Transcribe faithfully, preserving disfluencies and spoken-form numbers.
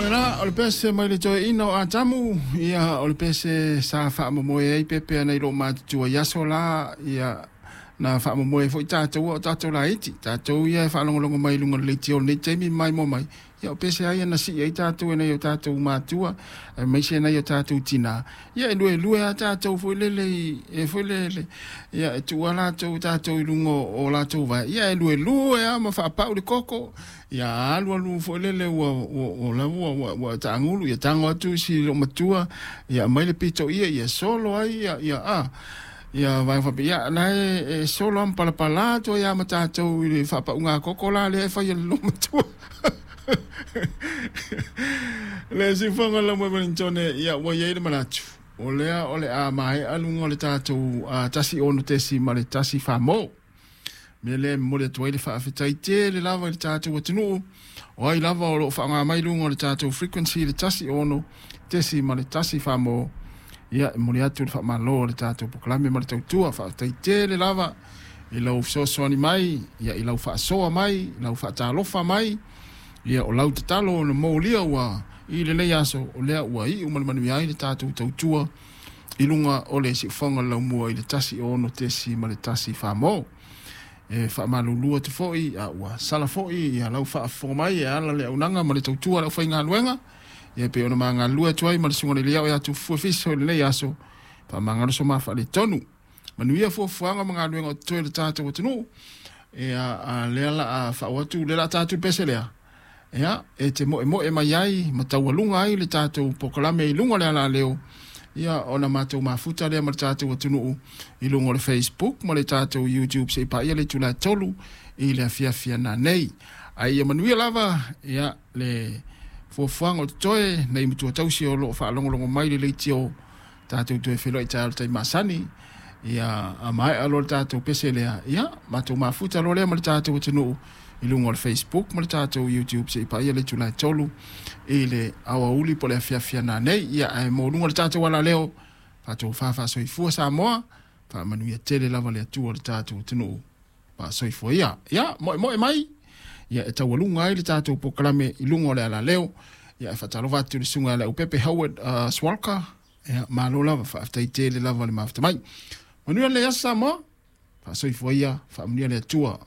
lena o le pese mai le toeaina o Atamu, ia o le pese sa faamomoe ai pepea nai loo matutua i aso la, ia na faamomoe foi tatou o tatou laiti, tatou ia e faalogologo mai i luga o le leitio o lenei taimi mai mo mai, ia o pese ai na sii ai tatou e nai o tatou matua, aemaise nai o tatou tinā, ia e luelue a tatou foi lele i, e foi lele, ia e tuu a latou tatou i luga o latou vae, ia e luelue a ma faapau le koko, ia alu alu foi lele ua ua ua lava ua ua ua taagulu, ia tago atu si loomatua, ia aumai le pito ia, ia solo ai ia ia a ia vai faapea, ia la e, e solo a ma palapala atu ai a ma tatou i le faapauga koko la lea e fai e le loomatua. Le siufofoga la mo Wellington, ia ua iai le manatu o lea o le a maea luga o le tatou uh, tasi ono tesi ma le tasi famo. Mea lea e momoli atu ai le faafetai tele lava i le tatou atunuu o ai lava o loo faaaoga mai luga o le tatou frequency le tasi ono tesi ma le tasi famo. Ia e momoli atu le faamalo o le tatou polokalame ma le tautua. Faafetai tele lava i lau fesoasoani mai, ia i lau faasoa mai, i lau faatalofa mai, ia o lau tatalo na molia ua i lenei aso o lea ua iu ma le manuia ai le tatou tautua i luga o le siufofoga o le laumua i le tasi ono tesi ma le tasi famo. E faamalulu atu foi a ua sala foi ia lau faafofoga mai e ala le auaunaga ma le tautua a le aufaigaluega, ia pei ona magalulue atu ai ma le susuga i le Liao ia Tufue Fiso i lenei aso. Faamagalo so ma faaletonu. Manuia fuafuaga ma galuega o totoe le tatou atunuu. Ia a lea la a faaoo atu le la tatou pese lea, ia e te moemoe mai ai ma taualuga ai le tatou polokalame i luga o le alaleo, ia ona matou mafuta lea ma le tatou atunuu i luga o le Facebook ma le tatou YouTube seia paia le itula e tolu i le afiafi nanei. Ae ia manuia lava ia le fuafuaga o totoe nei matua tausi o loo faalogologo mai le leitio. Tatou toe feiloai taeao i le taimi masani, ia a maea loa le tatou pese lea, ia matou mafuta loa lea ma le tatou atunuu i luga o le Facebook ma le tatou YouTube seia paia le itula e tolu i le aoauli po o le afiafi nanei. Ia ae mo luga o le tatou alaleo, faatofa faasoifua Samoa, faamanuia tele lava le Atua o le tatou atunuu. Faasoifua ia. Ia moemoe mai, ia e taualuga ai le tatou polokalame i luga o le alaleo. Ia e faatalofa atu i le susuga ia Leaupepe Howard uh, Swalka, ia malo lava, faafetai tele lava le mafuta mai. Manuia le aso Samoa, faasoifua ia, faamanuia le Atua.